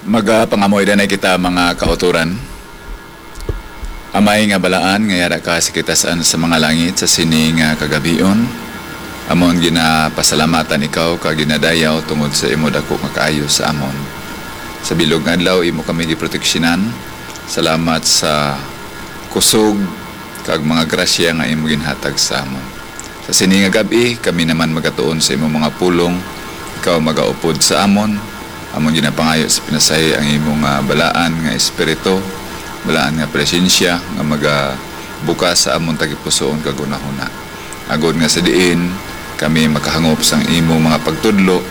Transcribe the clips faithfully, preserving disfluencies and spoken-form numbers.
Magapangamuy danay kita, mga kautoran. Amay nga balaan nga yara ka sa kitasan sa mga langit sa sini nga kagabion, amon ginapasalamatan ikaw kag ginadayaw tungod sa imo dako nga kaayo sa amon. Sa bilog nga adlaw, imo kami giproteksyonan. Salamat sa kusog kag mga grasya nga imo ginhatag sa amon. Sa sini nga gab-i, kami naman magatuon sa imo mga pulong. Ikaw magaupod sa amon. Amon ginapangayo sa pinasahi ang imo nga balaan nga espiritu, balaan nga presensya nga magabukas sa amon tagipusoon kag hunahuna. Agod nga sa diin kami makahangop sang imo mga pagtudlo,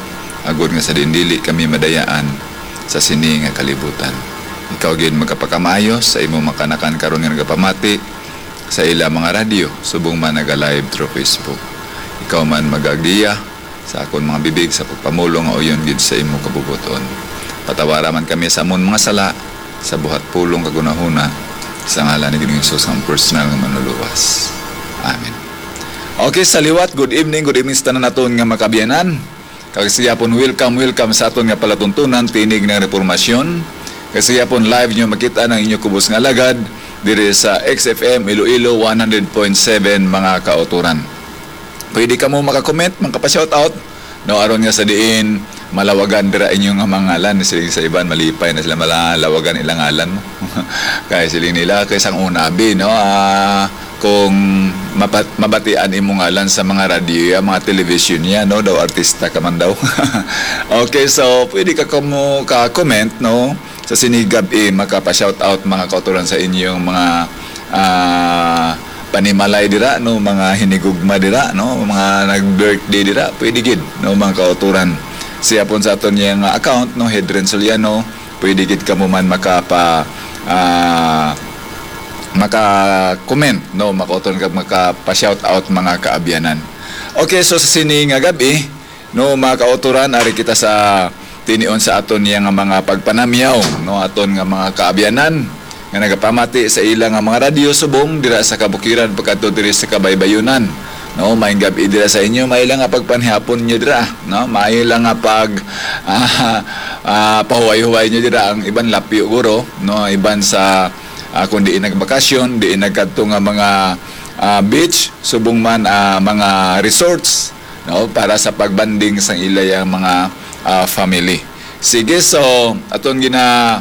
agod nga sa diin dili kami madayaan sa sini nga kalibutan. Ikaw gid magkapakamaayo sa imo mga kanakan karon nga nagapamati sa ila mga radyo, subong man naga-live through Facebook. Ikaw man magagiya sa akon mga bibig sa pagpamulong nga uyon gid sa imo kabubuton. Patawara man kami sa amon mga sala, sa buhat pulong kag hunahuna, sa ngalan ni Ginoong Hesus nga personal nga Manluluwas. Amen. Okay, sa liwat, good evening, good evening sa tanan naton nga mga kaabyanan. Kag sa gihapon, welcome, welcome sa aton nga palatuntunan, Tinig ng Reformasyon. Kag sa gihapon, live nyo makita ang inyo kubos nga alagad diri sa X F M Iloilo one hundred point seven, mga kautoran. Pwede kamo maka-comment, maka-pa-shoutout, no, aron nga sa diin malawagan dira inyo nga mga ngalan. Siling sa iban, malipay na sila, malawagan ilang ngalan mo. Kay siling nila, kay sang una, abi, no, ah, kung mapat-, mabatian imo ngalan sa mga radyo, ya, mga television, ya, no, daw artista ka man daw. Okay, so pwede ka kamo ka-comment, no, sa sini gab-i, makapa-shoutout, mga kautoran, sa inyong mga, ah, panimalay dira, no, mga hinigugma dira, no, mga nag-birthday dira, pwede gid, no, mga kautoran. Siya pon sa aton niya nga account, no, Hedren Soliano, pwede gid kamo man makapa-, ah, maka-comment, no, makauton kag makapa-shoutout, mga kaabyanan. Okay, so sa sini nga gab-i, no, mga kautoran, ari kita sa tinion sa aton niya nga mga pagpanamyaw, no, aton nga mga kaabyanan nga nagapamati sa ila nga mga radyo subong dira sa kabukiran pagkadto diri sa kabaybayunan. No, maayong gab-i dira sa inyo, may lang nga pagpanihapon nyo dira, no, may lang nga pag, ah, ah, pahuway-huway nyo dira. Ang iban lapyo guro, no, iban sa, ah, kung diin nagbakasyon, diin nagkadto nga mga, ah, beach, subong man, ah, mga resorts, no, para sa pagbanding sang ila yang mga, ah, family. Sige, so aton gina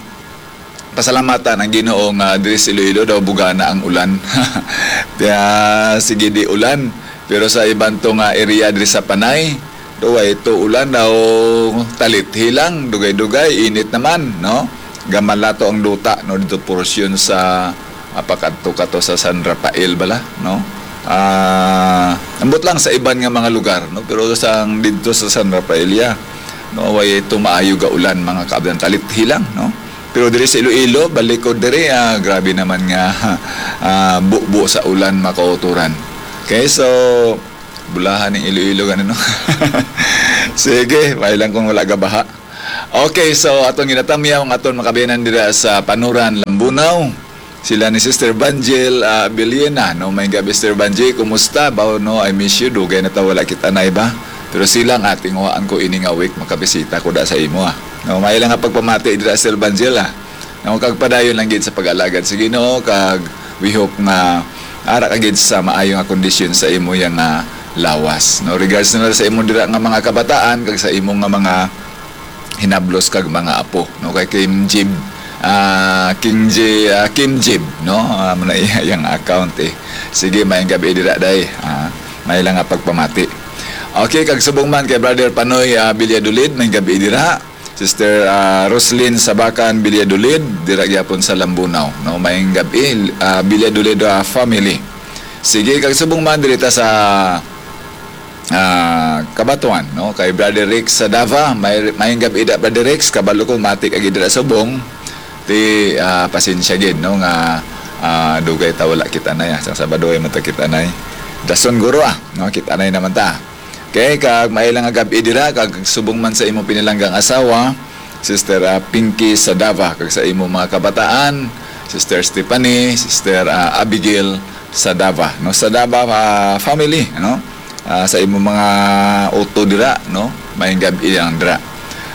pasalamatan ang Ginoo nga diri sa Iloilo daw bugana ang ulan. Kaya sige di ulan. Pero sa iban to nga area diri sa Panay, daw way to ulan daw, talithi lang, dugay-dugay, init naman, no? Gamalato ang duta, no, dito porsyon sa, ah, pakadto ka to sa San Rafael bala, no? Ah, ambot lang sa iban nga mga lugar, no? Pero sang didto sa San Rafael, ya, no, way to maayo ga ulan, mga kaabyanan, talithi lang, no? Pero diri sa Iloilo, balik ko diri, ah, grabe naman nga, ah, bubo sa ulan, makauturan. Okay, so, bulahan ning Iloilo, gani, no? Sige, may lang kung wala gabaha. Okay, so atong ginatamyaw ang aton mga kaabyanan dira sa Panuran, Lambunao. Sila ni Sister Banjel, ah, Biliena, no? May gabi, Sister Banjel, kumusta? Ba, no, I miss you. Dugay na ta wala kita na iba. Pero sila nga, tinguhaan ko ini nga week, makabisita ko da sa imo, ah. No, may lang nga pagpamati dira, Sister Banjel, ah. No, kag padayon lang gid sa pag-alagad sa Ginoo, kag we hope nga ara ka gid sa maayo nga kondisyon sa imo yang, ah, lawas. No, regards na lang sa imo dira nga mga kabataan, kag sa imo nga mga hinablos kag mga apo, no? Kay Kim Jib, ah, King J, ah, Kim Jib, no? Ah, muna iya yang account, eh. Sige, mayang gabi dira, day. Ah, may lang nga pagpamati. Okay, kag subong man kay Brother Panoy, ah, Villadolid, mayang gabi dira. Sister, ah, Roslyn Sabakan Villadolid, dira gyapon sa Lambunao, no? Mayang gabi, ah, Villadolid, ah, family. Sige, kag subong man diri ta sa ah, Cabatuan, no? Kay Brother Rex Sadava, may, mayang gabi da, Brother Rex, kabalo ko, matik agi dira subong, ti, ah, pasensya gid, no, nga, ah, dugay ta wala kita na, ya. Sa Sabado ay mata kita na, eh. Dason guro, ah, no, kita na naman ta. Okay, kag may lang nga gabi dira, kag subong man sa imo pinilanggang asawa, Sister, ah, Pinky Sadava, kag sa imo mga kabataan, Sister Stephanie, Sister, ah, Abigail Sadava, no? Sadava, ah, family, no? Ah, sa imo mga uto dira, no? Mayang gabi yang dira.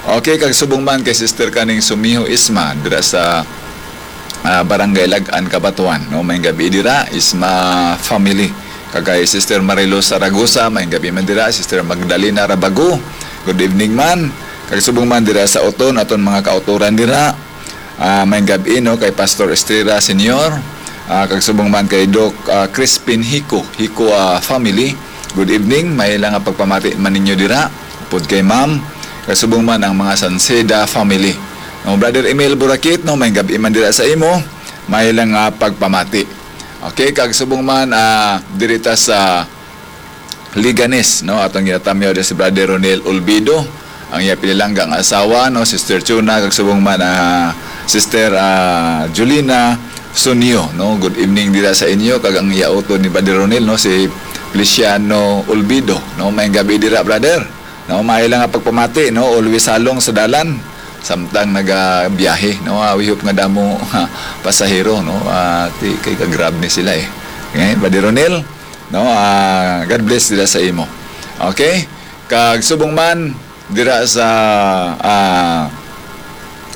Okay, kag subong man kay Sister kaning Sumiho Isma dira sa, ah, Barangay Lag-an, Cabatuan, no? May gabi dira, Isma family. Kag kay Sister Marilo Saragosa, may gabi man dira, Sister Magdalena Rabago. Good evening man. Kag subong man dira sa Oton, aton mga kauturan dira. Ah, may gabi, no, kay Pastor Estrella Senior. Ah, kag subong man kay Doc, ah, Crispin Hico, Hico, ah, family. Good evening. May lang nga pagpamati man ninyo dira. Upod kay Ma'am. Kag subong man ang mga Sanceda family. No, Brother Emil Burakit, no, may gabi man dira sa imo. May lang nga pagpamati. Okay, kag subong man, ah, diri ta sa Liganes, no? Atong ginatamyaw din si Brother Ronel Olvido, ang iya pinilangga nga asawa, no? Sister Chuna, kag subong man, ah, Sister, ah, Julina Sunio, no? Good evening dira sa inyo, kag ang iya utod ni Brother Ronel, no? Si Feliciano Olvido, no? May gabi dira, brother. No, may lang nga pagpamati, no? Always halong sa dalan samtang nagabiyahe, no? Ah, we hope nga damo, ah, pasahero, no? Ah, ti-, kay ka-grab ni sila, eh. Okay, Brother Ronel, no? Ah, God bless dira sa imo. Okay? Kag subong man dira sa, ah,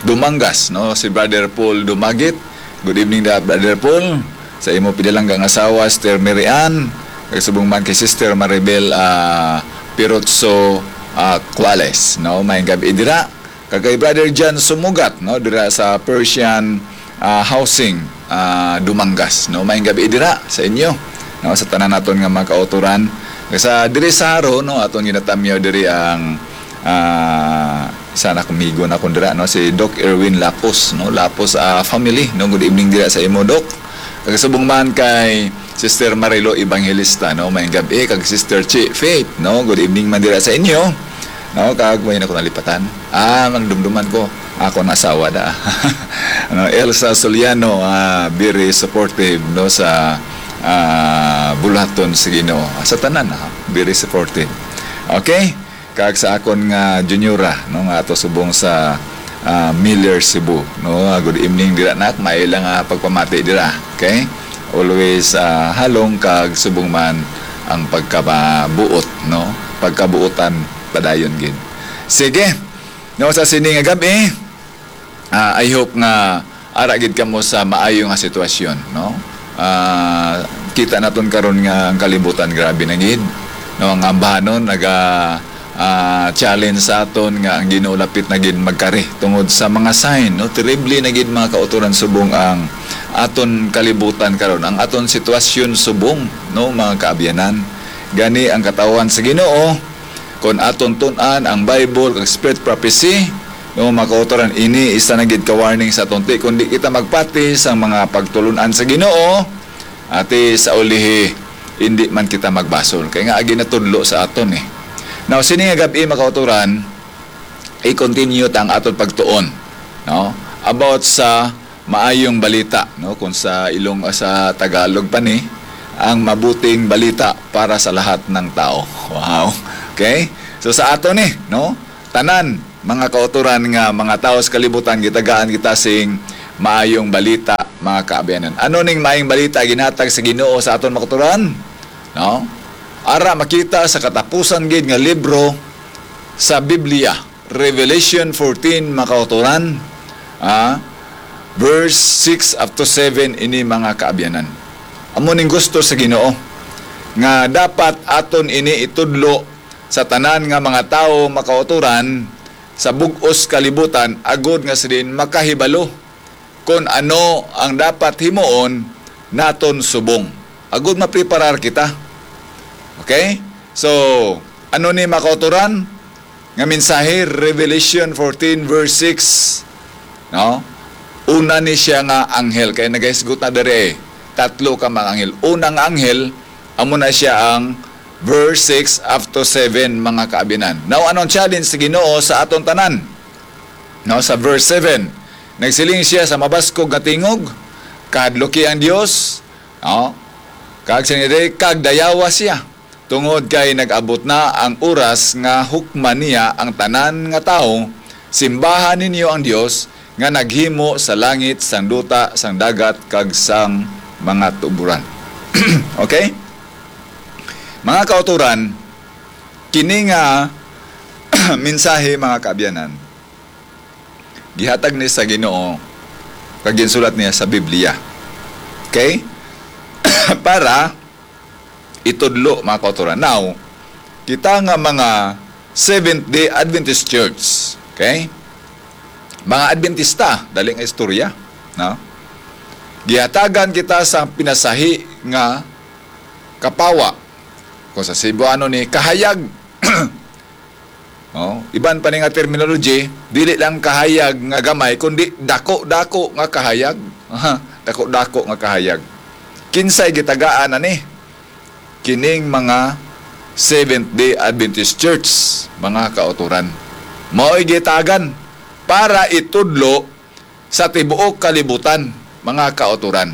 Dumangas, no? Si Brother Paul Dumagit. Good evening, da-, Brother Paul. Sa imo pinalangga nga asawa, Sister Mary Ann. Kag subong man kay Sister Maribel, ah, Pirotso, ah, Cuales, no? May gabi dira. Kag kay Brother John Sumugat, no, dira sa Persian, ah, Housing, ah, Dumangas, no? May gabi dira sa inyo, no, sa tanan naton nga mga kauturan. Sa diri sa Jaro, no, aton ginatamyaw diri ang, ah, isa na kumigo na kun dira, no, si Doc Erwin Lapos, no, Lapos, ah, family, no, good evening dira sa imo, Doc. Kag subong man kay Sister Marilo Evangelista, no, may gabi, kag Sister Chi Faith, no, good evening man dira sa inyo. No, kag may na ko nalipatan. Ah, magdumduman ko. Ako na asawa da. Ano, Elsa Soliano, ah, very supportive, no, sa, ah, buluhaton sa Ginoo. Sa tanan, ah, very supportive. Okay? Kag sa akon nga juniora, no, nga ato subong sa, ah, Miller, Cebu, no. Ah, good evening dira, nak. May lang, ah, pagpamati dira. Okay? Always, ah, halong kag subong man ang pagkabuot, no. Pagkabuotan padayon gid. Sige. No, sa sini nga gab-i, ah, I hope nga ara gid kamo sa maayo nga sitwasyon, no? Ah, kita naton karon nga ang kalibutan grabe na gid, no? Ang ambahanon naga, ah, challenge sa aton nga ang Ginoo lapit na gid magkari tungod sa mga sign, no? Terrible na gid, mga kautoran, subong ang aton kalibutan karon, ang aton sitwasyon subong, no, mga kaabyanan. Gani ang katawhan sa Ginoo, kon aton tun-an ang Bible kag spirit prophecy, no, mga kautoran, ini isa na gid ka warning sa aton, ti, kung di kita magpati sa mga pagtulon-an sa Ginoo, ati sa ulihi, hindi man kita magbasol. Kay nga agi natudlo sa aton, eh. Now, sini nga gab-i, mga kautoran, i-continue ta ang aton pagtuon, no, about sa maayong balita, no? Kung sa ilong, sa Tagalog pa ni, ang mabuting balita para sa lahat ng tao. Wow. Okay? So, sa ato ni, no? Tanan, mga kauturan nga mga tawo sa kalibutan, gitagaan kita sing maayong balita, mga kaabyanan. Ano ning maayong balita ginhatag sa Ginoo sa aton, mga kauturan? No? Ara makita sa katapusan gid nga libro sa Biblia, Revelation fourteen, mga kauturan, ah, verse six up to seven, ini, mga kaabyanan. Amo ning gusto sa Ginoo, nga dapat aton ini itudlo sa tanan nga mga tawo, mga kauturan, sa bug-os kalibutan, agod nga sila makahibalo kon ano ang dapat himuon naton subong, agud mapreparar kita. Okay? So, ano ni, mga kauturan, nga mensahe? Revelation fourteen verse six, no? Una ni siya nga anghel. Kay nagahisgot na diri, eh. Tatlo ka mga anghel. Unang anghel, amo na siya ang verse six up to seven, mga kaabyanan. Now, anong challenge sa Ginoo sa aton tanan? No, sa verse seven, nagsiling siya sa mabaskog nga tingog, "Kahadluki ang Dios," no? Kag sa nire, "Kag dayawa siya, tungod kay nag-abot na ang oras nga hukman niya ang tanan nga tawo. Simbahan ninyo ang Dios nga naghimo sa langit, sang duta, sang dagat, kag sang mga tuboran." Okay? Mga kauturan, kini nga mensahe, mga kaabyanan, Gihatag ni sa Ginoo kag ginsulat niya sa Biblia. Okay? Para itudlo, mga kauturan. Now, kita nga mga Seventh-day Adventist Church, okay? Mga Adventista, dali nga istorya, no? Gihatagan kita sa pinasahi nga kapawa. Kung sa Cebuano ni kahayag. Oh, iban pa ni nga terminology, dili lang kahayag nga gamay, kundi dako-dako nga kahayag. Aha, dako-dako nga kahayag. Kinsay gitagaan ani? Kining mga Seventh-day Adventist Church, mga kauturan. Mao'y gitagan para itudlo sa tibuok kalibutan, mga kauturan.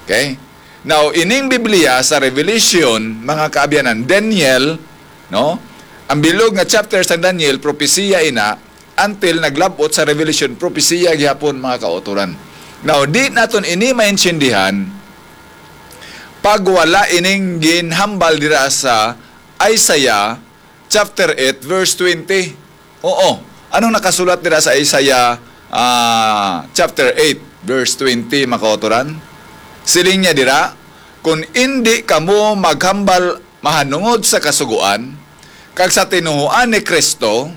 Okay? Now, ining Biblia sa Revelation, mga kaabyanan, Daniel, no? Ang bilog nga chapter sa Daniel, propesiya ina, until naglabot sa Revelation, propesiya gihapon, mga kauturan. Now, di naton ini maintindihan pag wala ining ginhambal dira sa Isaiah chapter eight, verse twenty. Oo. Anong nakasulat dira sa Isaiah, ah, chapter eight, verse twenty, mga kauturan? Siling niya dira, "Kung indi kamo maghambal mahanungod sa Kasugoan, kag sa tinuohan ni Cristo,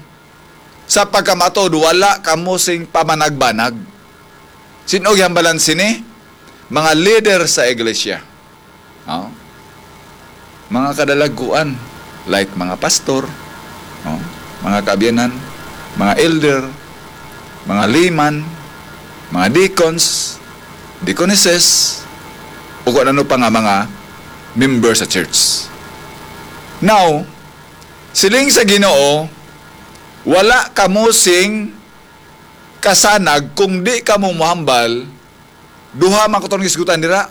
sa pagkamatuod wala kamo sing pamanagbanag." Sin-o gihambalan sini? Mga leader sa iglesia. Oh. Mga kadalaguan, like mga pastor, oh, mga kaabyanan, mga elder, mga layman, mga deacons, deaconesses, o kung ano pa nga mga member sa church. Now, siling sa Ginoo, wala kamo sing kasanag kung di kamo mohambal. Duha man kuto'ng hisgutan dira.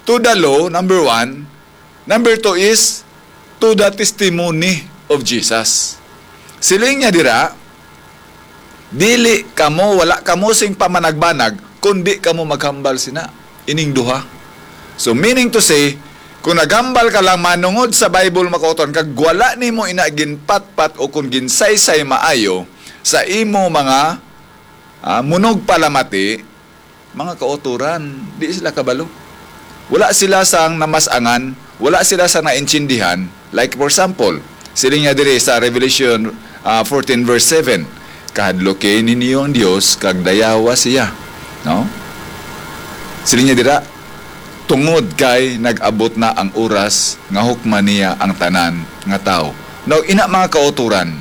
To the law, number one. Number two is to the testimony of Jesus. Siling niya dira, "Dili kamo, wala kamo sing pamanagbanag, kundi kamo maghambal sina." Ining duha. So, meaning to say, kung naghambal ka lang manungod sa Bible, mga kauturan, kag wala nimo ina ginpatpat o kung ginsaysay maayo sa imo mga, ah, munogpalamati, mga kauturan, di sila kabalo. Wala sila sang namas-angan, wala sila sang naintindihan. Like, for example, siling niya diri sa Revelation, ah, fourteen verse seven, "Kahadluki ninyo ang Dios kag dayawa siya." No? Siling niya dira, "Tungod kay nag-abot na ang oras nga hukman niya ang tanan nga tawo." Now, ina, mga kauturan,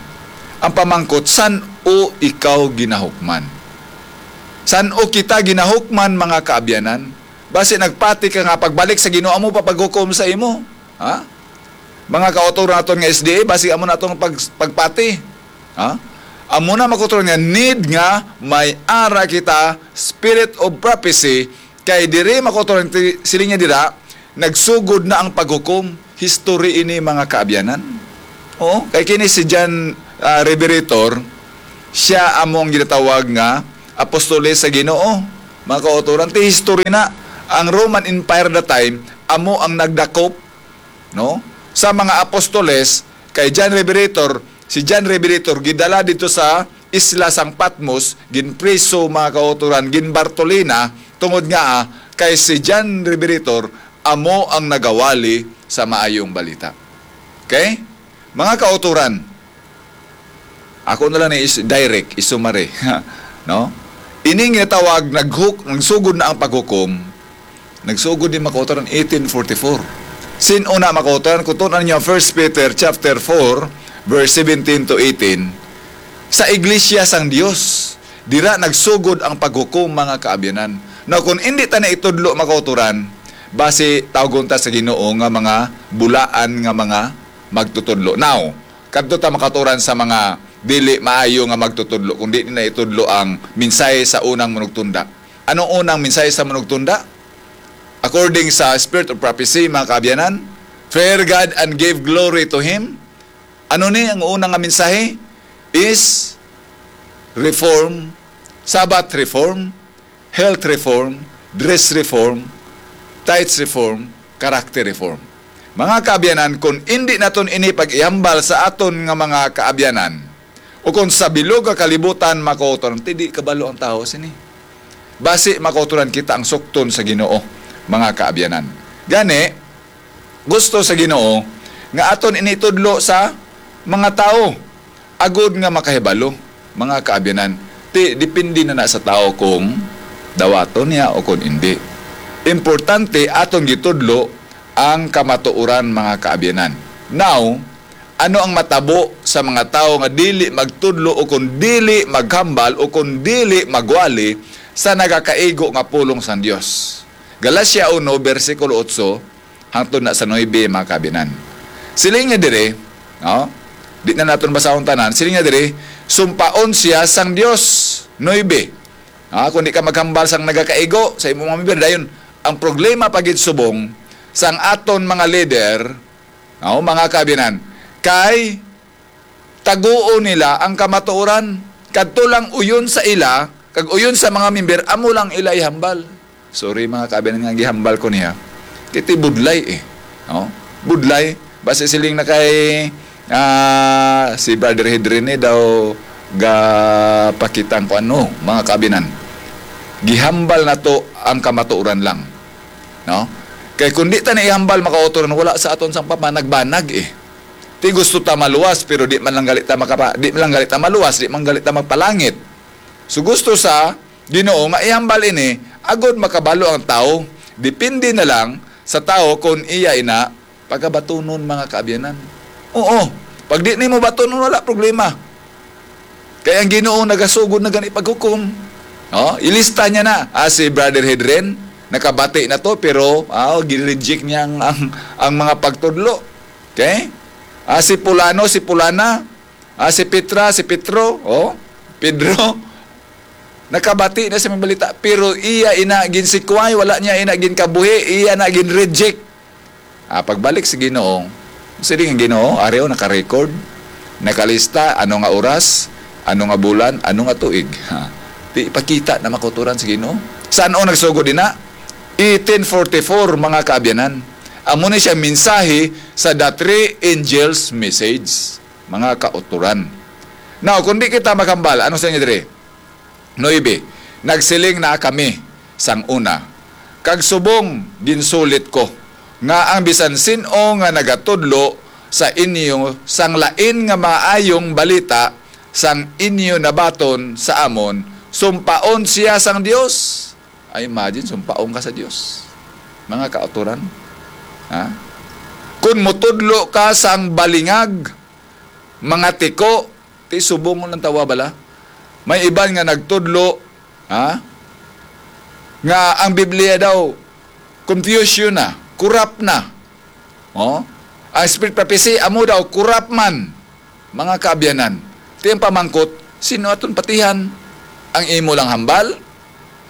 ang pamangkot, san-o ikaw ginahukman? San-o kita ginahukman, mga kaabyanan? Basi nagpati ka nga pagbalik sa Ginoo, amo pa paghukom sa imo? Ha? Mga kauturan naton nga S D A, basi amo na atong pag-, pagpati. Ha? Amo na, mga kauturan, nga need nga may ara kita, spirit of prophecy, kay diri, mga kauturan, ti-, siling niya dira, nagsugod na ang paghukom. History ini, mga kaabyanan. Oo, kay kini si John, ah, Revelator, siya amo ang ginatawag nga apostoles sa Ginoo. Mga kauturan, ti history na, ang Roman Empire that time, amo ang nagdakop, no, sa mga apostoles. Kay John Revelator, si John Revelator gidala dito sa isla sang Patmos, ginpriso, mga kauturan, ginbartolina, tungod nga, ah, kay si John Revelator amo ang nagawali sa maayong balita. Okay? Mga kauturan, ako na lang ni is-, direct, isumari. No? Ining ginatawag naghuk-, nagsugod na ang paghukom, nagsugod ni, mga kauturan, eighteen forty-four. Sin-o na, mga kauturan? Kung tun-an niyo First Peter chapter four, verse seventeen to eighteen, sa iglesia sang Dios, dira nagsugod ang paghukom, mga kaabyanan. Now, kung indi ta na itudlo, mga kauturan, basi tawgon ta sa Ginoo nga mga bulaan nga mga magtutudlo. Now, kadto ta, mga kauturan, sa mga dili maayo nga magtutudlo, kung di nila itudlo ang mensahe sa unang manugtunda. Anong unang mensahe sa manugtunda? According sa Spirit of Prophecy, mga kaabyanan, "Fear God and give glory to Him." Ano ni ang una nga mensahe? Is reform, Sabbath reform, health reform, dress reform, tithes reform, character reform. Mga kaabyanan, kung indi naton ini pag-ihambal sa aton nga mga kaabyanan, Ukon sa bilog nga kalibutan, mga kautoran, ti di kabalo ang tawo sini. Basi, mga kautoran, kita ang sukton sa Ginoo, mga kaabyanan. Gani, gusto sa Ginoo nga aton ini itudlo sa mga tawo, agod nga makahibalo, mga kaabyanan. Ti, depende na na sa tawo kung dawaton niya o kung indi. Importante, aton gitudlo ang kamatuoran, mga kaabyanan. Now, ano ang matabo sa mga tawo nga dili magtudlo o kung dili maghambal o kung dili magwali sa nagakaigo nga pulong sang Dios? Galacia uno, bersikulo otso, hangtod na sa nuebe, mga kaabyanan. Siling niya diri, no? Di na naton basahon tanan. Siling niya diri, sumpaon siya sang Dios. Nuebe. Ah, kung di ka maghambal sang nagakaigo sa imong mga member, dayon, ang problema pa gid subong sang aton mga leader, no, mga kaabyanan, kay taguon nila ang kamatuoran. Kadto lang uyon sa ila, kag uyon sa mga member, amo lang ila ihambal. Sorry, mga kaabyanan, nga gihambal ko niya. Kay ti budlay eh. No? Budlay. Basi siling na kay, ah, si Brother Hedrin ni daw gapakita ang kuan, no, mga kaabyanan. Gihambal nato ang kamatuoran lang. No? Kay kung di ta na ihambal, mga kautoran, wala sa aton sang papa, nagbanag eh. Ti gusto ta maluwas, pero di man lang gali ta makapa-, di man lang gali ta maluwas, di man gali ta magpalangit. So gusto sa Ginoo nga ihambal ini, agod makabalo ang tawo. Depende na lang sa tawo kung iya ina pagabatunon, mga kaabyanan. Oo, pag di nimo batunon, wala problema. Kay ang Ginoo nagasugod na gani paghukom. No? Ilista niya na, ah, si Brother Hedren, nakabati na to, pero, ah, gin-reject niya ang, ang, ang mga pagtudlo. Okay? Ah, si Pulano, si Pulana, ah, si Petra, si Petro, oh, Pedro, nakabati na sa mga balita, pero iya ina ginsikway, wala niya ina ginkabuhi, iya na gin-reject. Ah, pagbalik sa Ginoo, siling ang Ginoo, ari o, naka-record, nakalista, ano nga oras, ano nga bulan, ano nga tuig. Ha? Ti ipakita na, mga kautoran, sa Ginoo. San-o nagsugod ina? Eighteen forty-four, mga kaabyanan. Amo ni siya mensahe sa The Three Angels Message, mga kautoran. Now, kung di kita maghambal, ano sa inyo diri? Nuebe, nagsiling na kami sang una, kag subong ginsulit ko, nga ang bisan sin-o nga nagatudlo sa inyo sang lain nga maayong balita sang inyo nabaton sa amon, sumpaon siya sang Dios. Ay, imagine, sumpaon ka sa Dios. Mga kautoran, ha? Kun mutudlo ka sang balingag, mga tiko, ti subong lang tawa bala. May iban nga nagtudlo, ha? Nga ang Biblia daw confusion na, corrupt na. Oh? Ang spirit prophecy, amo daw, corrupt man. Mga kaabyanan, ti ang pamangkot, sino aton patihan? Ang imo lang hambal?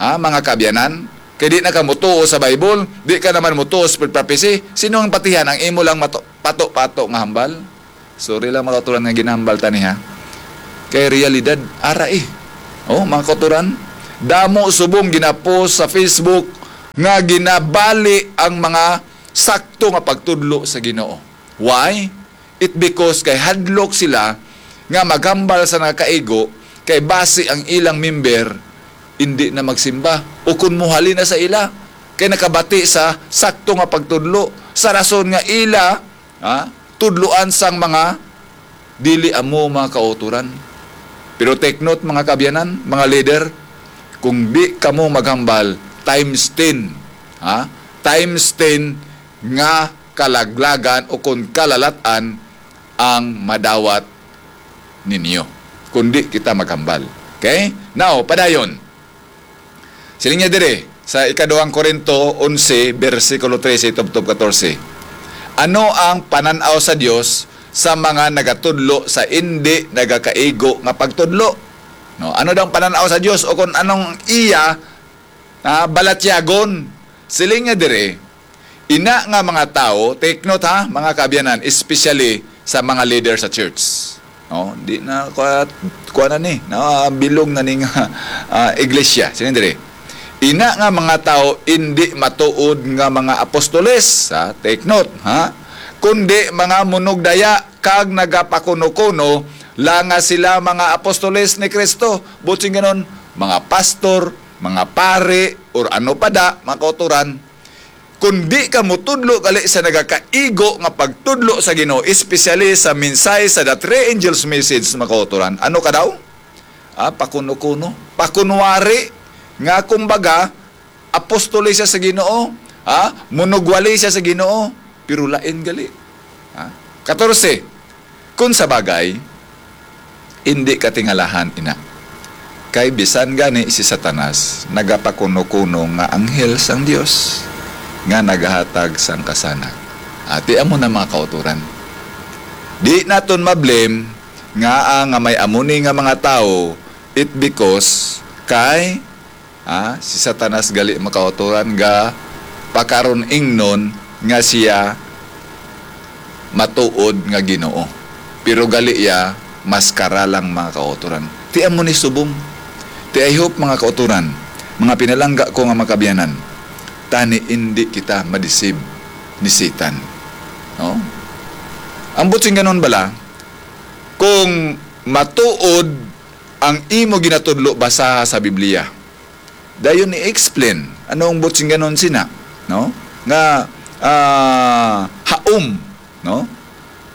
Ha, mga kaabyanan? Kay di na ka mutuo sa Bible, di ka naman mutuo sa spirit prophecy. Sino ang patihan? Ang imo lang mato-, pato-pato nga hambal? Sorry lang, mga kautoran, nga ginahambal ta ni, ha? Kay realidad, ara eh. Oh, mga kautoran, damo subong ginapost sa Facebook nga ginabali ang mga sakto nga pagtudlo sa Ginoo. Why? It because kay hadlok sila nga maghambal sa nakaigo, kay basi ang ilang member indi na magsimba, o kun mohali na sa ila, kay nakabati sa sakto nga pagtudlo, sa rason nga ila, ha, tudloan sang mga dili amo, mga kautoran. Pero take note, mga kaabyanan, mga leader, kung di kamo maghambal, times ten, ha? Times ten nga kalaglagan o kon kalalat-an ang madawat ninyo, kundi kita maghambal. Okay? Now, padayon. Siling niya dire, sa ikaduhang Corinto onse, bersikulo trese tubtob katorse, "Ano ang panan-aw sa Dios sa mga nagatudlo sa indi nagakaigo nga pagtudlo?" No, ano daw ang panan-aw sa Dios, o kung anong iya, ah, balatyagon? Siling niya dire, ina nga mga tawo, take note ha, mga kaabyanan, especially sa mga leader sa church. No, di na kuha, kuha na ni, no, bilog na ning, ah, iglesia. Siling dire, ina nga mga tawo indi matuod nga mga apostoles, ha? Take note, ha? Kundi mga munugdaya kag nagapakuno-kuno la nga sila mga apostoles ni Kristo. Buot silingon, mga pastor, mga pari, or ano pa da, mga kauturan, kung di ka mutudlo gali sa nagakaigo nga pagtudlo sa Ginoo, especially sa mensahe sa the three angels message, mga kauturan, ano ka daw? Ah, pakuno-kuno, pakunwari nga, kumbaga, apostoles siya sa Ginoo, ha? Munugwali siya sa Ginoo, pero lain gali. Ha? Katorse, kung sa bagay, hindi katingalahan ina. Kay bisan gani si Satanas nagapakuno-kuno nga anghel sang Dios nga nagahatag sang kasanag. Ati amo na, mga kauturan. Di naton ma-blame nga, ah, nga may amo ni nga mga tawo, it because kay Ah, si Satanas gali, mga kauturan, ga pakaron-ingnon nga siya matuod nga Ginoo. Pero gali iya, maskara lang, mga kauturan. Ti amo ni subong. Ti, I hope, mga kauturan, mga pinalangga ko nga mga kaabyanan, tani indi kita madisib ni Satan. No? Ang buot silingon bala, kung matuod ang imo ginatudlo, basaha sa Biblia. Dayon i-explain ano ang buot silingon sina, no? Nga, ah, haom, no?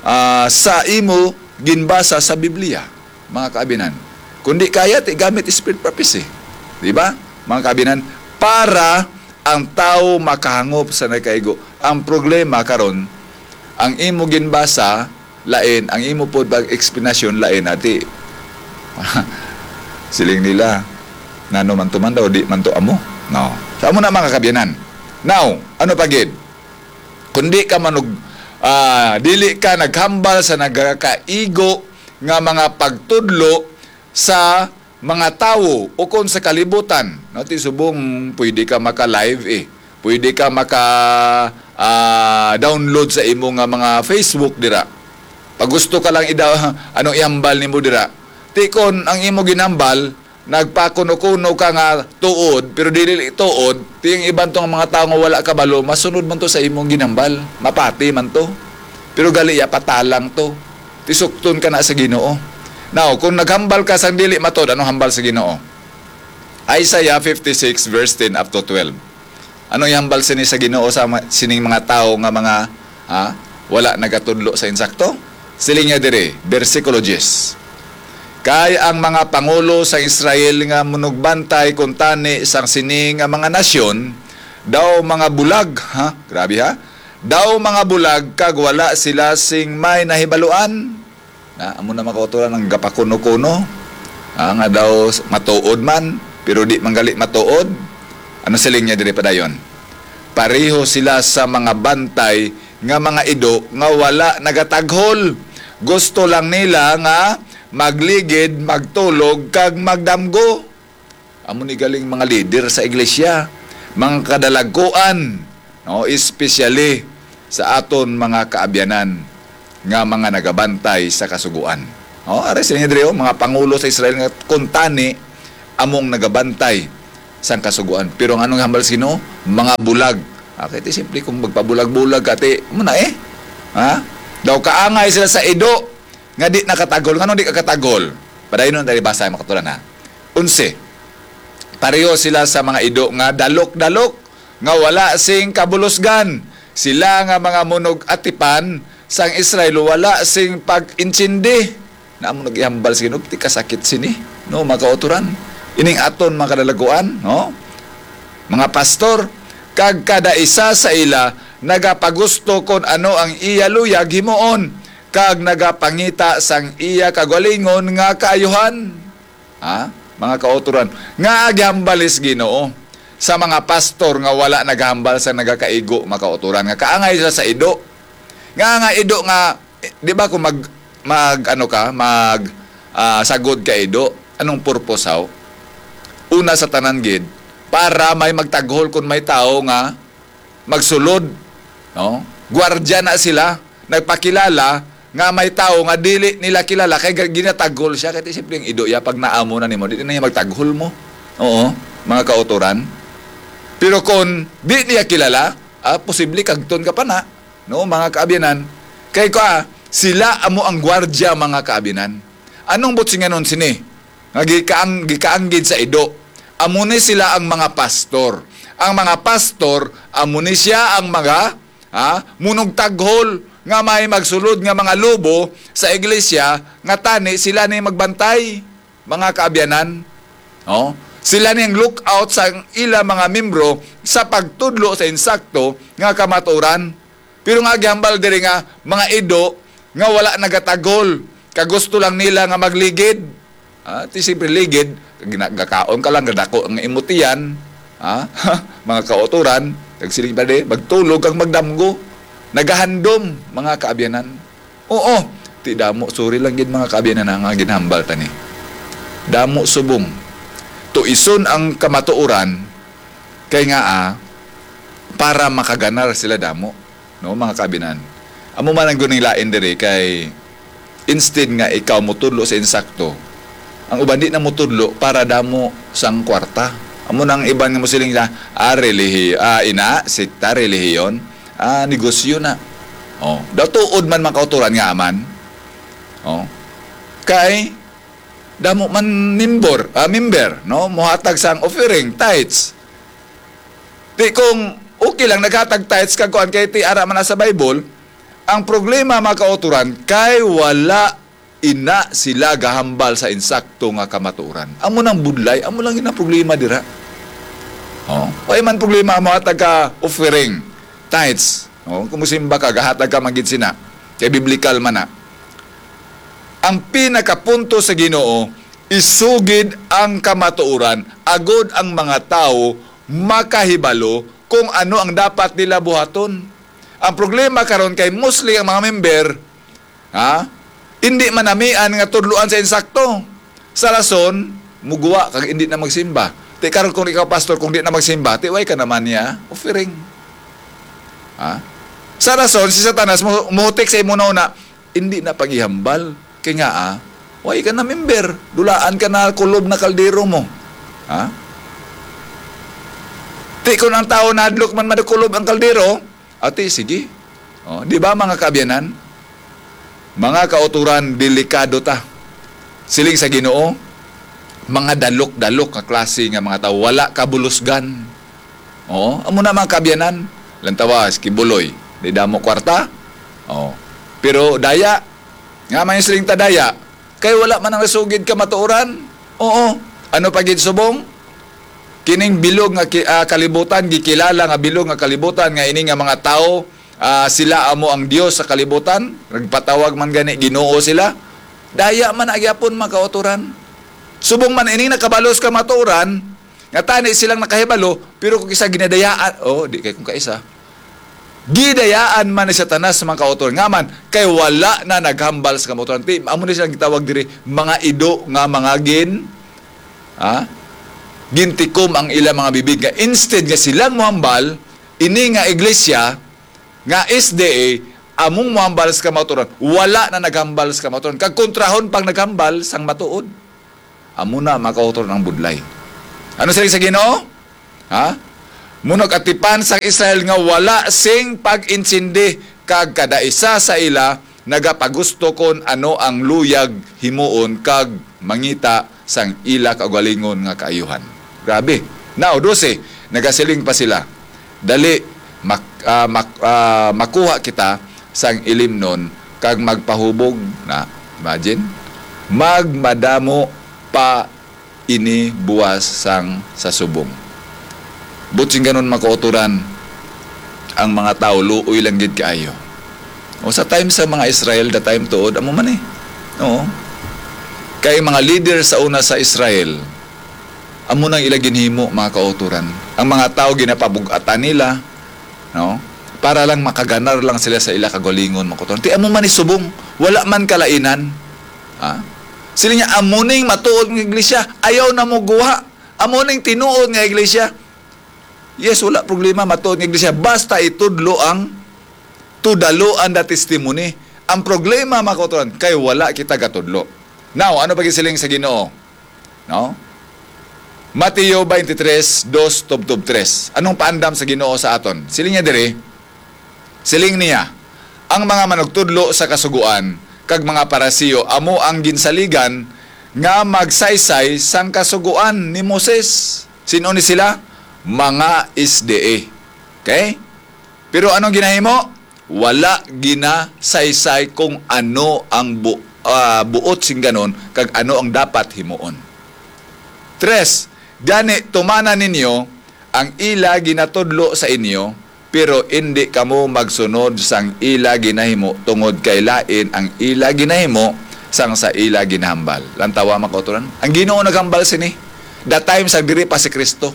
Ah, sa imo ginbasa sa Biblia, mga kaabyanan. Kung di kaya, ti gamit spirit prophecy. Di ba? Mga kaabyanan, para ang tawo makahangop sa nagakaigo. Ang problema karon, ang imo ginbasa lain, ang imo pod pag-eksplanasyon lain, ati. Siling nila, "Nano man to man daw, di man to amo." No. Sa amo na, mga kaabyanan. Now, ano pa gid? Kung di ka manug-, ah, dili ka naghambal sa nagakaigo nga mga pagtudlo sa mga tawo ukon sa kalibutan, no? Ti subong pwede ka maka-live, eh. Pwede ka maka, ah, download sa imo nga mga Facebook dira. Pag gusto ka lang ida-, ano, ihambal nimo dira. Ti kon ang imo ginambal, nagpakuno-kuno ka nga tuod, pero dili tuod, ti ang iban tong mga tawo nga wala kabalo, masunod man to sa imong ginambal, mapati man to. Pero gali ya, patalang to. Ti sukton ka na sa Ginoo. Now, kung naghambal ka sang dili matuod, ano hambal sa Ginoo? Isaiah fifty-six verse ten up to twelve. Ano ihambal sini sa Ginoo sa ma-, sining mga tawo nga mga, ha, wala nagatudlo sa insakto? Siling niya diri, bersikulo diyes, "Kay ang mga pangulo sa Israel nga munugbantay kuntani sang sini nga mga nasyon, daw mga bulag," ha? Grabe, ha? "Daw mga bulag kag wala sila sing may nahibaluan." Na, amo na, mga kauturan, ang gapakuno-kuno, ah, nga daw s-, matuod man, pero di man gali matuod. Ano siling niya diri padayon? "Pareho sila sa mga bantay nga mga ido nga wala nagataghol. Gusto lang nila nga magligid, magtulog, kag magdamgo." Amo ni galing mga leader sa iglesia, mga kadalaguan, no, especially sa aton mga kaabyanan nga mga nagabantay sa Kasugoan. Oh, ari sila diri, oh, mga pangulo sa Israel nga kuntani among nagabantay sang Kasugoan. Pero ang anong hambal sa Ginoo? Mga bulag. Ah, kay ti simple, kung magpabulag-bulag ka, ti, mo na eh. Ha? Daw kaangay sila sa ido nga di nakataghol. Ngano di ka kataghol? Padayon na tayo basa, mga kauturan, ha? Onse, pareho sila sa mga ido nga dalok-dalok, nga wala sing kabulusgan. Sila nga mga munug-atipan sang Israel wala sing pag-intindi. Na amo nagihambal sa Ginoo, ti kasakit sini, no, mga kauturan. Ining aton mga kadalaguan, no? Mga pastor, kag kada isa sa ila nagapagusto kon ano ang iya luyag himuon, kag nagapangita sang iya kagalingon nga kaayuhan. Ha? Mga kauturan, nga gihambalis Ginoo sa mga pastor nga wala naghambal sa nagakaigo, mga kauturan, nga kaangay sila sa ido. Nga, nga ido nga, eh, di ba, kung mag, mag, ano ka, mag, ah, sagod ka ido, anong purpose, haw? Una sa tanan gid, para may magtaghol kung may tawo nga magsulod, no? Gwardiya na sila, nagpakilala nga may tawo nga dili nila kilala, kay ga-, ginataghol siya, kay simple ang ido ya, pag naamo na nimo, di na niya magtaghol mo. Oo, mga kauturan. Pero kung di niya kilala, ah, posible kagton ka pa na, no, mga kaabyanan. Kay ka, sila amo ang gwardiya, mga kaabyanan. Anong butsinganon sini? Nga gikaang-, gikaanggid sa ido. Amo ni sila ang mga pastor. Ang mga pastor, amo ni siya ang mga, ha, munugtaghol nga may magsulod nga mga lobo sa iglesia, nga tani sila ni magbantay, mga kaabyanan. No? Sila ni ang lookout sa ila mga membro sa pagtudlo sa insakto nga kamatuoran. Pero nga gihambal diri nga mga ido nga wala nagataghol, kag gusto lang nila nga magligid. Ah, ti siyempre ligid, gina-, gakaon ka lang, gadako ang imutian, ah, mga kauturan, kag siling pa di, magtulog kag magdamgo. Nagahandom, mga kaabyanan. Oo, ti damo, sorry lang gid, mga kaabyanan, nga ginhambal ta ni. Damo subong. Tuison ang kamatuoran, kay nga, ah, para makaganar sila damo, no, mga kaabyanan. Amo man ang guning lain diri, kay instead nga ikaw mutudlo sa insakto, ang uban di na mutudlo para damo sang kwarta. Amo na ang iban nga musiling sa, ah, relihi-, ah, ina, sekta, relihiyon, ah, negosyo na. Oh, daw tuod man, mga kauturan, nga man. Oh. Kay damo man member, ah, member, no? Muhatag sang offering, tithes. Ti kung okay lang naghatag tithes kag kuan, kay ti ara man na sa Bible, ang problema, mga kauturan, kay wala ina sila gahambal sa insakto nga kamatuoran. Amo nang budlay, amo lang gid ang problema dira. Oh, way man problema ang muhatag ka offering, tithes. Oh, kung musimba ka, gahatag ka man gid sina. Kay biblical man na. Ang pinakapunto sa Ginoo, isugid ang kamatuoran, agod ang mga tawo makahibalo kung ano ang dapat nila buhaton. Ang problema karon kay mostly ang mga member, ha? Hindi manamian nga tudloan sa insakto. Sa rason, muguwa kag hindi na magsimba. Ti karon kung ikaw, pastor, kung di na magsimba, ti way ka naman niya offering. Ha? Sa rason, si Satanas mo-, muhutik sa imo na una, hindi na pag-ihambal. Kay nga, ah, way ka na member. Dulaan ka na, kulob na kaldero mo. Ha? Ti kung ang tao nadlok man madukulob ang kaldero, ati, sige. Oh, di ba, mga kaabyanan? Mga kauturan, delikado ta. Siling sa Ginoo, mga dalok-dalok nga klase nga mga tawo, wala kabulusgan. Oo, amo na, mga kaabyanan. Lantawa, si Kibuloy, di damo kwarta. Oo. Pero daya, nga may siling ta daya, kay wala man ang nasugid kamatuoran. Oo. Ano pa gid subong? Kining bilog nga ki-, ah, kalibutan, gikilala nga bilog nga kalibutan, nga ini nga mga tawo, ah, sila amo ang Dios sa kalibutan, nagpatawag man gani Ginoo sila. Daya man na gyapon, mga kauturan. Subong man ining nakabalos kamatuoran, nga tani silang nakahibalo, pero kung isa ginadayaan, oh, di kay kung kaisa. Gidayaan man ni Satanas sa mga kauturan. Nga man, kay wala na naghambal sa kamatuoran. Ti, amo ni silang gitawag diri, mga ido nga mga gin-, ha? Gintikom ang ila mga bibig. Nga instead nga silang mohambal, ini nga iglesia, nga S D A, among mohambal sa kamatuoran, wala na naghambal sa kamatuoran. Kag kontrahon pang naghambal sang matuod. Amo na, mga kauturan, ang budlay. Ano siling sa Ginoo? Ha? Munag atipan sang Israel nga wala sing pag-intindi, kag kada isa sa ila nagapagusto kon ano ang luyag himuon kag mangita sang ila kaugalingon nga kaayuhan. Grabe. Now, dose, nagasiling pa sila, "Dali, mak-, ah, mak-, ah, makuha kita sang ilimnon kag magpahubog na." Imagine, magmadamo pa ini buwas sang sa subong. Buot silingon, mga kauturan, ang mga tawo luoy lang gid kaayo. O sa time sa mga Israel, the time tuod, amo man eh. Oo. Kay mga leader sa una sa Israel, amo nang ila ginhimo, mga kauturan. Ang mga tawo ginapabug-atan nila, no? Para lang makaganar lang sila sa ila kaugalingon, mga kauturan. Ti amo man ni subong, wala man kalainan. Ha? Sila niya, "Amo ning matuod nga iglesia, ayaw na mo guha. Amo ning tinuod nga iglesia." Yes, wala problema, matuod nga iglesia. Basta itudlo ang tudalo ang the testimony. Ang problema, mga kauturan, kay wala kita gatudlo. Now, ano pa gisiling sa Ginoo? No? Mateo twenty-three, dos tubtob tres. Anong paandam sa Ginoo sa aton? Siling niya diri, siling niya, "Ang mga manugtudlo sa Kasugoan kag mga Pariseo amo ang ginsaligan nga magsaysay sang Kasugoan ni Moses. Sin-o ni sila? Mga S D A. Okay? Pero anong ginahimo? Wala ginasaysay kung ano ang bu-, ah, buot sing ganon kag ano ang dapat himuon. Tres, gani tumana ninyo ang ila ginatudlo sa inyo, pero indi kamo magsunod sang ila ginahimo, tungod kay lain ang ila ginahimo sang sa ila ginahambal. Lantawa, mga kauturan, ang Ginoo naghambal sini the time sa diri pa si Kristo.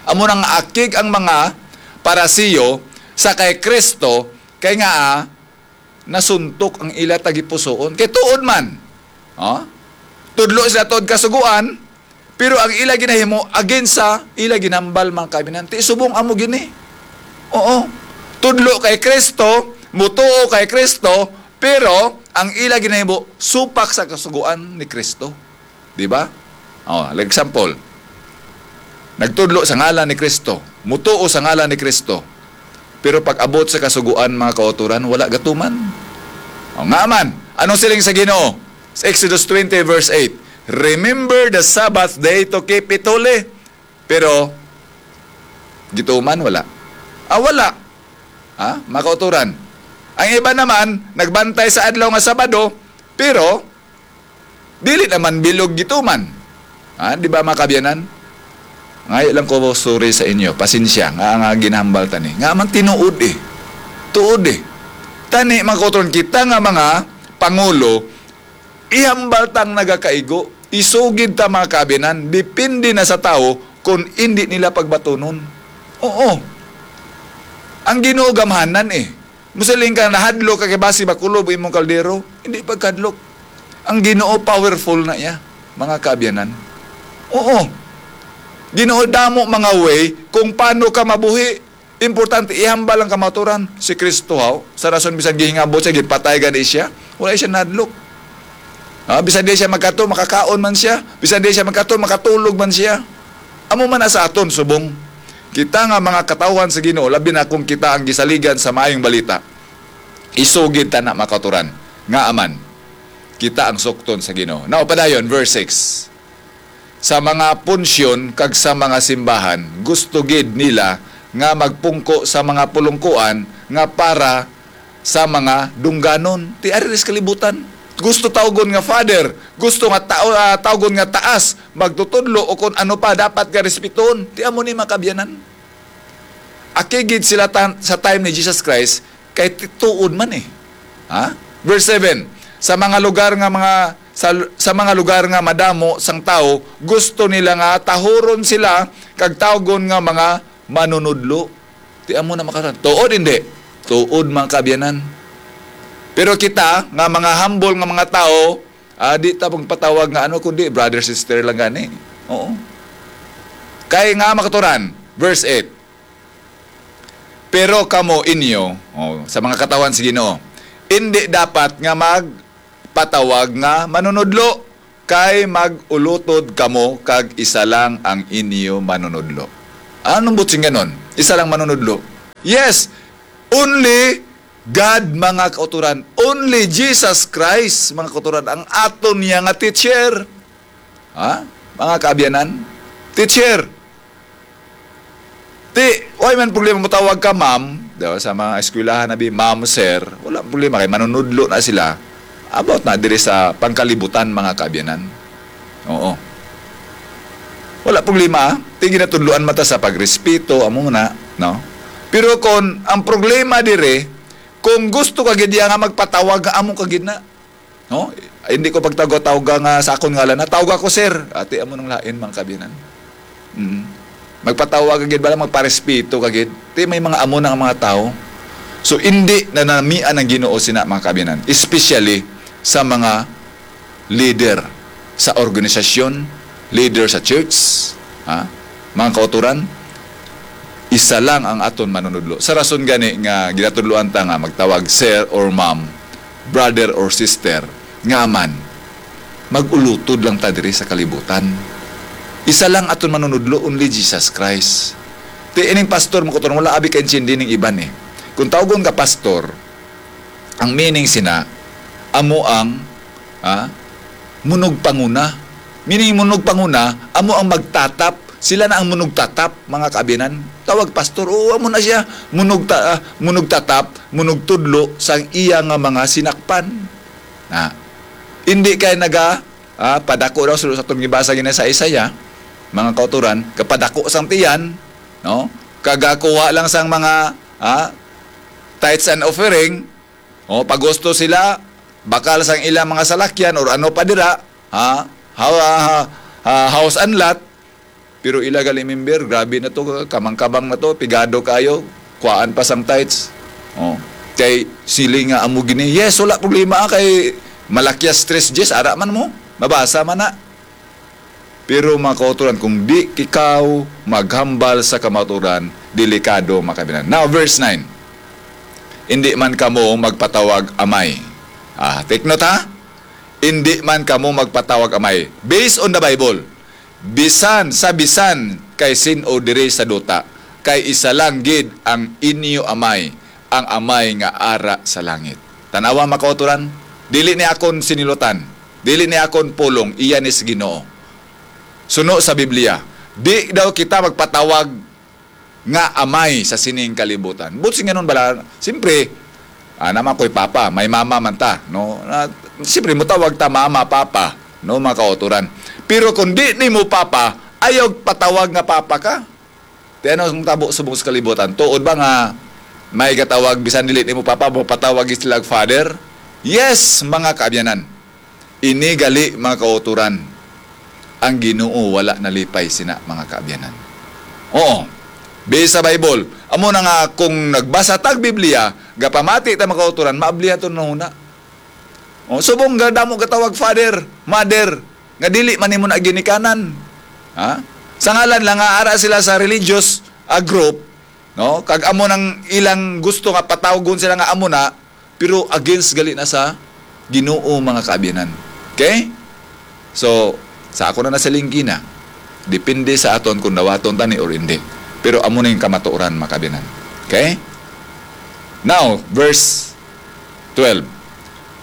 Amo nang akig ang mga Pariseo sa kay Kristo, kay nga, ah, nasuntok ang ila tagipusoon. Kay tuod man, oh, tudlo sila tuod Kasugoan, pero ang ila ginahimo against sa ila ginambal, mga kabinan. Ti subong amo gini. Oo. Tudlo kay Kristo, mutuo kay Kristo, pero ang ila ginahimo supak sa Kasugoan ni Kristo. Di ba? Oh, like example, nagtudlo sa ngalan ni Kristo, mutuo sa ngalan ni Kristo, pero pag-abot sa Kasugoan, mga kauturan, wala gatuman. Oh, nga man, anong siling sa Ginoo? Sa Exodus twenty verse eight, "Remember the Sabbath day to keep it holy." Pero gituman, wala. Ah, wala. Ha? Mga kauturan. Ang iba naman, nagbantay sa adlaw nga Sabado, pero dili naman bilog gituman. Ha? Di ba, mga kaabyanan? Ngayo lang ko sorry sa inyo. Pasensya nga, nga ginahambal ta ni. Nga man tinuod eh. Tuod eh. Tani, mga kauturan, kita nga mga pangulo, ihambal ta ang nagakaigo. Isugid ta, mga kaabyanan. Depende na sa tawo kung indi nila pagbatunon. Oo. Ang Ginoo gamhanan eh. Musiling ka, "Nahadlok ka kay basi makulob imong kaldero." Hindi pagkadlok. Ang Ginoo powerful na iya, mga kaabyanan. Oo. Ginoo damo mga way kung paano ka mabuhi. Importante, ihambal ang kamaturan. Si Kristo, haw, sa rason bisan gihingabot siya, gipatay gani siya, wala siya nahadlok. Ah, bisan di siya magkato, makakaon man siya. Bisan di siya magkato, makatulog man siya. Amo man na sa aton, subong. Kita nga mga katawhan sa Ginoo, labi na kung kita ang gisaligan sa maayong balita, isugid ta na makaturan. Nga aman, kita ang sukton sa Ginoo. Now, padayon, verse six. Sa mga punsyon kag sa mga simbahan, gusto gid nila nga magpungko sa mga pulungkuan nga para sa mga dungganon. Ti ari sa kalibutan. Gusto tawgon nga father, gusto nga tao, ah, tawgon nga taas, magtutudlo o kung ano pa dapat nga respetuhon. Ti amo ni, mga kaabyanan. Aki gid sila tan-, sa time ni Jesus Christ, kay ti-, tuod man eh. Ha? Verse seven, "Sa mga lugar nga mga, sa, sa mga lugar nga madamo sang tawo, gusto nila nga tahuron sila kag tawgon nga mga manunudlo." Ti amo na makatan. Tuod, hindi? Tuod, mga kaabyanan. Pero kita, nga mga humble nga mga tawo, ah, di ta magpatawag nga ano, kundi brother, sister lang gani. Oo. Kay nga makaturan, verse eight, "Pero kamo inyo," oh, sa mga katawhan sa Ginoo, "indi dapat nga magpatawag nga manunudlo, kay mag-ulutod kamo kag isa lang ang inyo manunudlo." Anong buot sing ganon? Isa lang manunudlo. Yes, only God, mga kauturan. Only Jesus Christ, mga kauturan, ang aton niya nga teacher. Ha? Mga kaabyanan? Teacher. Ti, way man problema motawag ka ma'am, di ba, sa mga eskwelahan na bi, ma'am, sir, wala problema kay manunudlo na sila about na diri sa pangkalibutan, mga kaabyanan. Oo. Wala problema, ah. Ti ginatudloan man ta sa pagrespeto, amo na, no? Pero kung ang problema dire, kung gusto ka gid iya nga magpatawag nga amo ka gid na, no? Ay, hindi ko pagtawag-tawag nga sa akon ngalan, na tawag ako sir. Ati amo nang lain, mga kabinan. Mm. Magpatawag ka gid bala, magparespeto ka gid. Ti may mga amo na nga mga tawo. So, hindi na namian ang Ginoo sina, mga kabinan, especially sa mga leader sa organisasyon, leader sa church, ha? Mga kauturan, isa lang ang aton manunudlo. Sa rason gani nga ginatudloan ta nga magtawag sir or ma'am, brother or sister, nga man, mag-ulutod lang ta diri sa kalibutan. Isa lang aton manunudlo, only Jesus Christ. Ti ining pastor, mga kauturan, wala abi ka intindi ning iban eh. Kung tawgon ka pastor, ang meaning sina, amo ang, ah, munugpanguna. Meaning, munugpanguna, amo ang magtatap. Sila na ang munugtatap, mga kaabyanan. Tawag pastor, oo, amo na siya. Munugta-, ah, munugtatap, munugtudlo sang iya nga mga sinakpan. Na, hindi kay naga, ah, padako daw sa, sa atong gibasa gina sa Isaiah, mga kauturan, kapadako sang tiyan, no? Kagakuha lang sang mga, ah, tithes and offering, o, pagusto sila, bakal sang ilang mga salakyan or ano pa dira, ha? Ha, ha, ha, house and lot, pero ila gali member, grabe na to, kamang-kamang na to, pigado kayo, kuhaan pa sang tithes. Oh, kay siling nga amo gini, yes, wala problema, ah, kay Malakias tres dies, ara man mo, mabasa man na. Pero, mga kauturan, kung di ikaw maghambal sa kamaturan, delikado, mga kaabyanan. Now, verse nine. "Indi man kamo magpatawag amay." Ah, take note, ha? "Indi man kamo magpatawag amay." Based on the Bible, bisan sa bisan kay sin-o diri sa duta, kay isa lang gid ang inyo amay, ang amay nga ara sa langit. Tanawa, mga kauturan, dili ni akon sinilutan, dili ni akon pulong, iya ni sa Ginoo. Suno sa Biblia, di daw kita magpatawag nga amay sa sining kalibutan. But singanon bala, siyempre, ah, naman ko'y papa, may mama man ta, no? Na, siyempre, mutawag ta mama, papa, no, mga kauturan. Pero kung di nimo papa, ayaw patawag nga papa ka. Ti ano ang tabo subong sa kalibutan? Tuod ba nga may gatawag, bisan dili nimo papa, mapatawag sila og father? Yes, mga kaabyanan. Ini gali, mga kauturan, ang Ginoo wala nalipay sina, mga kaabyanan. Oo. Based sa Bible, amo na nga kung nagbasa tag Biblia, gapamati ta, mga kauturan, maablihan to nahuna. O, subong nga damo gatawag father, mother, nga dili man nimo na ginikanan. Ha? Sa ngalan lang nga ara sila sa religious, ah, group, no? Kag amo nang ilang gusto nga patawgon sila nga amo na, pero against gali na sa Ginoo, mga kaabyanan. Okay? So, sa ako na nasiling gina, depende sa aton kung dawaton tani or hindi. Pero amo na yung kamatuoran, mga kaabyanan. Okay? Now, verse twelve.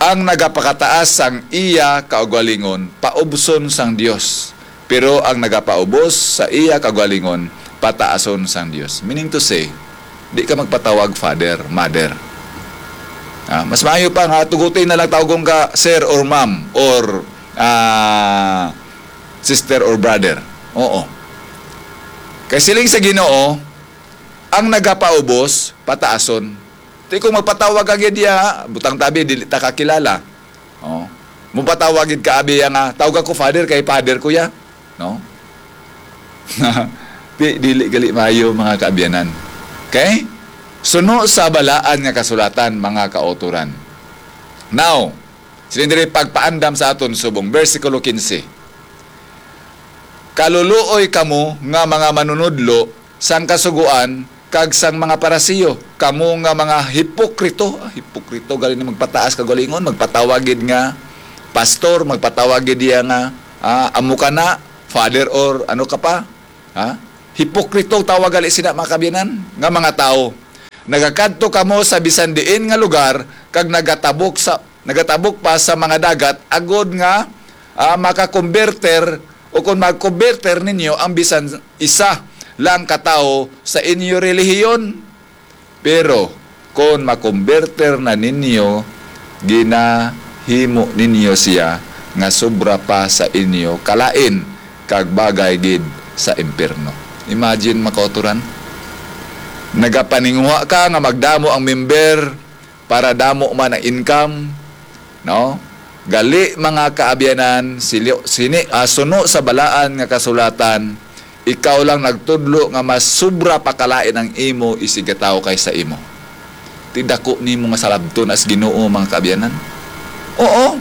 "Ang nagapakataas sang iya kaugalingon, paubson sang Dios, pero ang nagapaubos sa iya kaugalingon, pataason sang Dios." Meaning to say, di ka magpatawag father, mother. Ah, mas maayo pa nga tugutin na lang tawgon ka sir or ma'am or, ah, sister or brother. Oo. Kay siling sa Ginoo, ang nagapaubos, pataason. Ti kung magpatawag ka gid diya, butang tabi, dili ta kakilala. Oh. Mupatawag gid ka abi ya nga, "Tawag ako father, kay father ko ya." No? Di, dili gali maayo, mga kaabyanan. Okay? Suno sa balaan nga kasulatan, mga kauturan. Now, sila diri pagpaandam sa aton subong, bersikulo quince. "Kaluluoy kamo nga mga manunudlo sang Kasugoan kag sang mga Pariseo, kamo nga mga hipokrito." Ah, hipokrito, gali na magpataas kaugalingon, magpatawag gid nga pastor, magpatawag gid iya nga, ah, amo ka na, father or ano ka pa. Ha? Hipokrito tawag gali sina, mga kaabyanan, nga mga tawo. "Nagakadto kamo sa bisan diin nga lugar kag nagatabok sa, nagatabok pa sa mga dagat agod nga, ah, makakomberter o kung magkomberter ninyo ang bisan isa lang ka tawo sa inyo relihiyon. Pero kon makomberter na ninyo, ginahimo ninyo siya nga sobra pa sa inyo kalain kag bagay gid sa impyerno." Imagine, mga kauturan. Nagapaninguha ka nga magdamo ang member para damo man ang income, no? Gali, mga kaabyanan, silyo-, sini, ah, suno sa balaan nga kasulatan, ikaw lang nagtudlo nga mas sobra pa kalain ang imo isigataw kaysa imo. Ti dako nimo nga salabton as Ginoo, mga kaabyanan. Oo.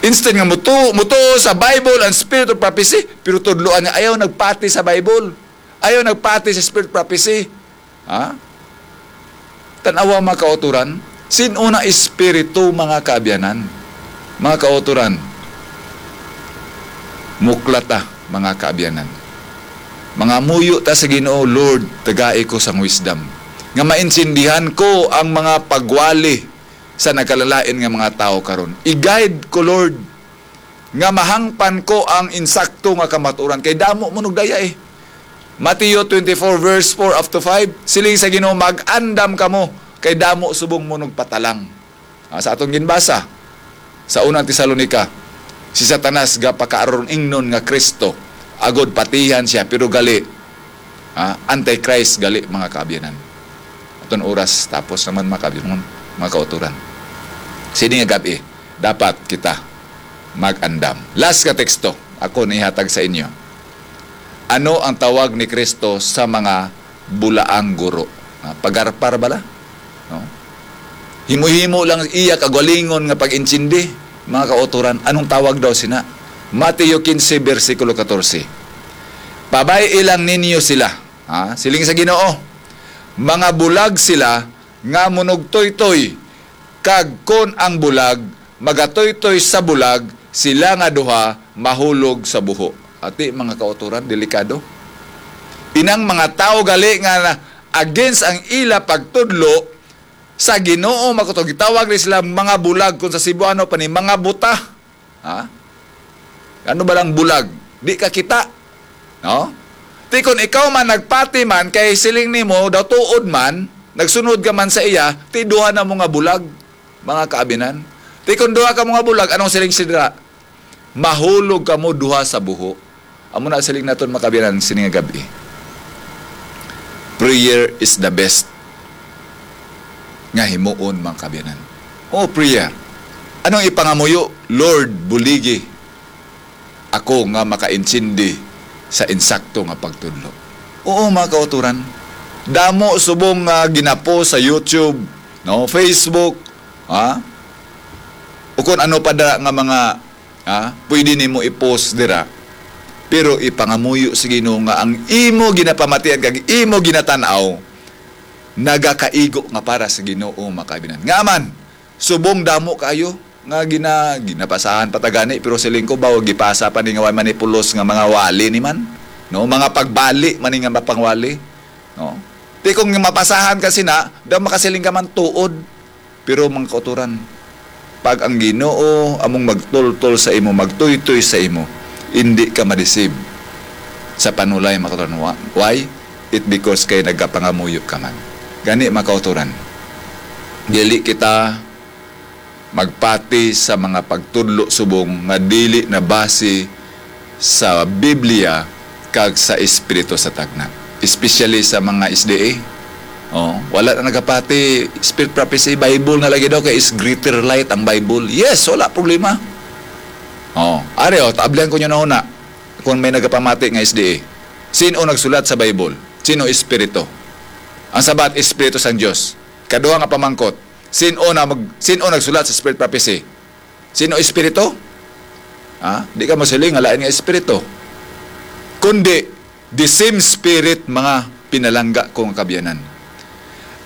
Instead nga mutuo, mutuo sa Bible and Spirit of Prophecy, pero tudloan nga ayaw nagpati sa Bible. Ayaw nagpati sa Spirit of Prophecy. Ha? Tan-awa, mga kauturan, sin-o na espiritu, mga kaabyanan, mga kauturan, muklat ta, mga kaabyanan. Mga muyo ta sa Ginoo, "Lord, tagai ko sang wisdom, nga maintindihan ko ang mga pagwali sa nagkalalain nga mga tawo karon. I-guide ko, Lord, nga mahangpan ko ang insakto nga kamatuoran, kay damo mo nagdaya eh. Mateo twenty-four verse four up to five, siling sa Ginoo, "Mag-andam kamo, kay damo subong mo nagpatalang." Ah, sa atong ginbasa sa unang Tesalonica, si Satanas gapakaarong-ingnon nga Kristo agod patihan siya, pero gali, ah, antichrist gali, mga kaabyanan. Aton oras tapos naman, mga kaabyanan, mga kauturan. Sini nga gabi, dapat kita mag-andam. Last nga teksto, ako nihatag sa inyo. Ano ang tawag ni Kristo sa mga bulaang guro? Ah, pagarpar bala? No? Himo-himo lang iya kagalingon nga pag-intindi, mga kauturan. Anong tawag daw sina? Mateo quince, bersikulo catorce. "Pabay-i lang ninyo sila." Ha? Siling sa Ginoo, "Mga bulag sila nga munugtoytoy, kag kon ang bulag magatoytoy sa bulag, sila nga duha mahulog sa buho." Ati, mga kauturan, delikado. Inang mga tawo gali nga na, against ang ila pagtudlo sa Ginoo, makutog, gitawag ni sila mga bulag, kung sa Cebuano pa ni, mga buta. Ha? Ano ba lang bulag? Di ka kita. No? Ti kon ikaw man nagpati man, kay siling nimo daw tuod man, nagsunod ka man sa iya, ti duha na mo nga bulag, mga kaabyanan. Ti kon duha ka mo nga bulag, anong siling sidra? "Mahulog kamo duha sa buho." Amo na siling naton, mga kaabyanan, sini nga gabi. Prayer is the best nga himuon, mga kaabyanan. Oh, prayer. Anong ipangamuyo? "Lord, buligi ako nga makaintindi sa insakto nga pagtudlo." Oo, mga kauturan. Damo subong nga ginapost sa YouTube, no, Facebook, ha? O kung ano pa dira nga mga, ha, pwede nimo i-post dira. Pero ipangamuyo sa Ginoo nga ang imo ginapamatian kag imo ginatan-aw nagakaigo nga para sa Ginoo, mga kaabyanan. Nga man, subong damo kaayo nga gina-, ginapasahan pa ta gani, pero siling ko ba, gipasa pa ni nga way manipulos nga mga wali ni man, no? Mga pagbali man ni nga mapangwali, no? Ti kung mapasahan ka sina, daw makasiling ka man tuod. Pero, mga kauturan, pag ang Ginoo among magtultol sa imo, magtuytoy sa imo, indi ka madisib sa panulay, mga kauturan. Wa-, why? It because kay nagapangamuyo ka man. Gani, mga kauturan, dili kita magpati sa mga pagtudlo subong nga dili na base sa Biblia kag sa espiritu sa tagna, especially sa mga S D A. Oh, wala na nagapati spirit prophecy, Bible na lagi daw kay is greater light ang Bible. Yes, wala problema. Oh, ari, oh, taablihan ko nyo na una kung may nagapamati nga S D A. Sino nagsulat sa Bible? Sino espiritu? Ang sabat, espiritu sang Dios. Kaduha nga pamangkot, sino na mag-, sino nagsulat sa spirit prophecy? Sino espiritu? Ha? Di ka masiling nga lain nga espiritu. Kundi, the same spirit, mga pinalangga ko nga kaabyanan.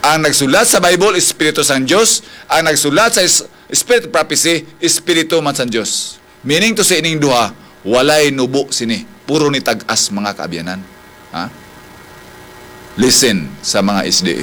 Ang nagsulat sa Bible, espiritu sang Dios. Ang nagsulat sa is-, spirit prophecy, espiritu man sang Dios. Meaning to say, ining duha, walay nubo sini. Puro ni tag-as, mga kaabyanan. Ha? Listen sa mga S D A.